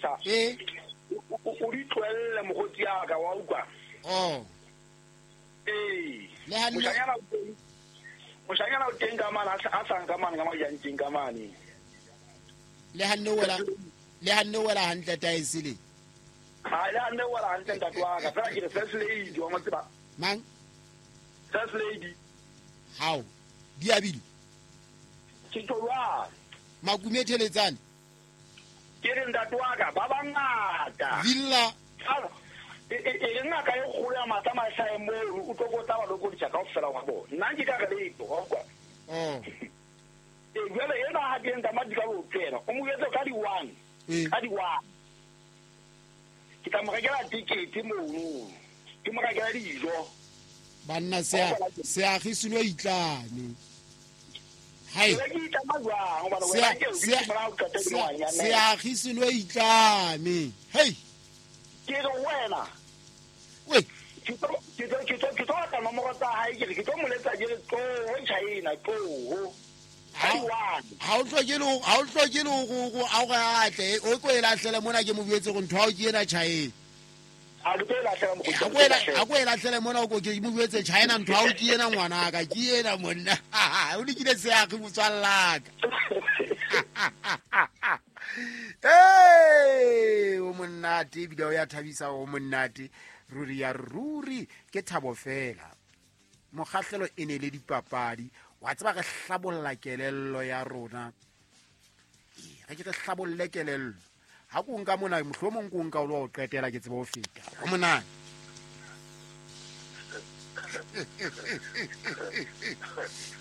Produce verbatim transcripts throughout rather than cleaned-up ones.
palesa. Eh. O di tlohelle mokgotsi ya ka wa utlwa. Oh. Eh. Le ha moshanyana o teng. Moshanyana o teng ka mane a sa nka mane ka majanteng ka mane. Le ha nne wela le ha nne wela hantle taesele. Ha le ha nne wela hantle ntate wa ka. Fela ke re first lady wa mo tseba. Mang? First lady. How? Diabile. Ke tloa. Makume theletsane. Ke re ntate wa ka ba bangata. Villa. E e ngaka e kgolo ya matla mahlae mo o tlo go tla ba lokodisa kaofela wa bona. Nna ke ka re letho wa kwa. Oh. E jwale ena ha ke nka madi ka lo tsena. O mo etse ka di one. Ka di one. Ke tla mo rekela ticket mono. Ke mo rekela dijo. Banna se se agisilo itlame. Hai. Se agisilo itlame. Hey. Ke re wena. We. Ke tlo ke tlo ke tlo ke tlo tla nomoro tsa hae ke re ke tlo moletsa ke re tlo China tlo. Ha o hloke le ha o hloke le go go a go atle o ko e lahlele mona ke mo buetse go ntho ha o ke ena China. A ke e lahlele mo go ela a go e lahlele mona o ko ke mo buetse China ntho ha o ke ena ngwana ka ke ena monna. O dikile se a go tswalla ka. Hey, o monnate ebile o ya thabisa o monnate ruri ya ruri ke thabo fela. Mokgahlelo e ne le dipapadi wa tseba re hlabolla kelello ya rona. Ee, re ke re hlabolle kelello. Ha ko nka mona mohlomong ko nka o lo qetela ke tsebe ho feta. O monate.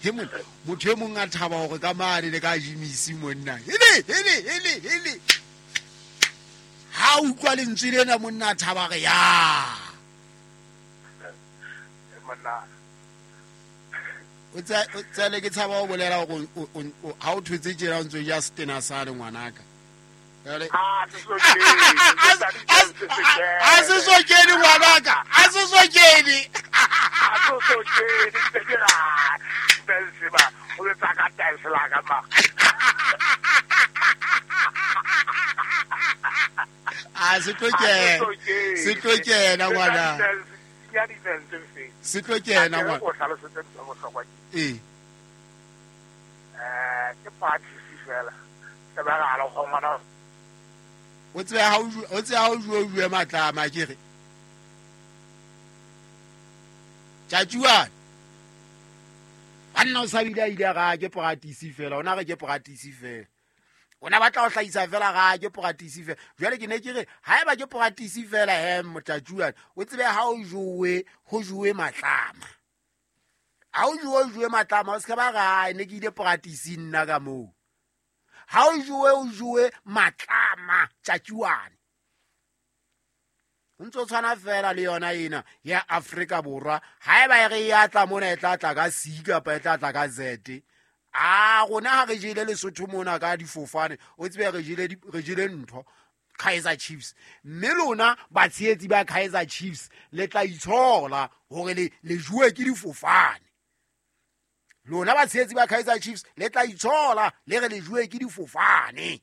He monna motho e mong a thaba hore ka mane le ka jimisi monna. Hele hele hele hele. Ha utlwa lentswe lena monna a thaba re ya. Monna o tsa o tsale ke tshaba o bolela hore ha o thwetse tjena o ntso ja setena sa le ngwanaka. Ah, se so kene. A se so kene ngwanaka. A se so kene. A se so kene se ke ra. Benzema o le tsaka taesela ka ma. A se tlo kena. Se tlo kena ngwana. Ya di fentse. Se tlo kena ngwana. O hlalosetse tsa bohlokwa ke. Eh. Eh, ke party fela. Se ba ga lo ngwana. O tsebe ha o tsebe ha o jwe jwe matlama ke re. Tjatjuana. Banna o sa bile a ile ga ke practice fela, ona re ke practice fela. Ona batla ho hlahisa fela ga ke practice fela. Jwale ke ne ke re haeba ke practice fela he motjatjuana, o tsebe ha o jowe, ho jowe matlama. Ha o jowe jowe matlama, o se ba ga ne ke ile practice nna ka moo. Ha o jowe o jowe matlama tjatjuana. O ntso tshwana fela le yona ena ya Afrika Borwa. Haeba e re ya tla mona e tla tla ka C kapa e tla tla ka Z. A rona ha re jele Lesotho mona ka difofane, o tsebe re jele re jele ntho Kaizer Chiefs. Mme lona batshehetsi ba Kaizer Chiefs le tla itshola hore le le jowe ke difofane. Lona batshehetsi ba Kaizer Chiefs le tla itshola le re le jowe ke difofane.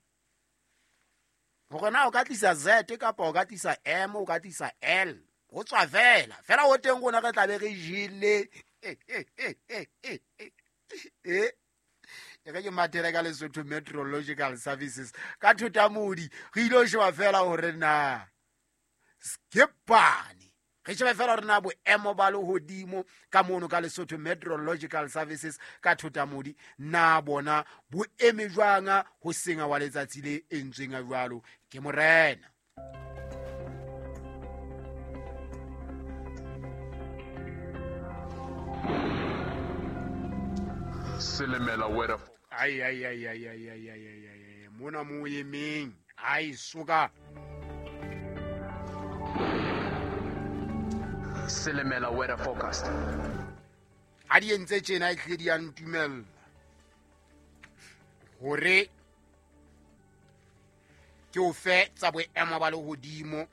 Hore na o ka tlisa Z kapa o ka tlisa M o ka tlisa L ho tswa fela fela ho teng rona re tla be re jele. Eh e re ke mathele ka Lesotho Meteorological Services ka Thotamodi re ile sheba fela hore na skepane re sheba fela hore na boemo ba lehodimo ka mono ka Lesotho Meteorological Services ka Thotamodi na bona bo eme jwang ho senga wa letsatsi le entsweng a jwalo ke morena. Silimela weather. Ai ai ai ai ai ai ai ai ai mona mo emeng ai suka. Silimela weather forecast. A di entse tjena e tle di a ntumella hore ke o fe tsa boemo ba lehodimo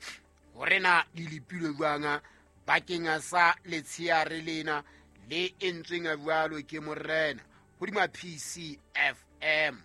hore na di lepilwe jwang bakeng sa letsheare lena le entsweng jwalo ke morena hodima P C F M.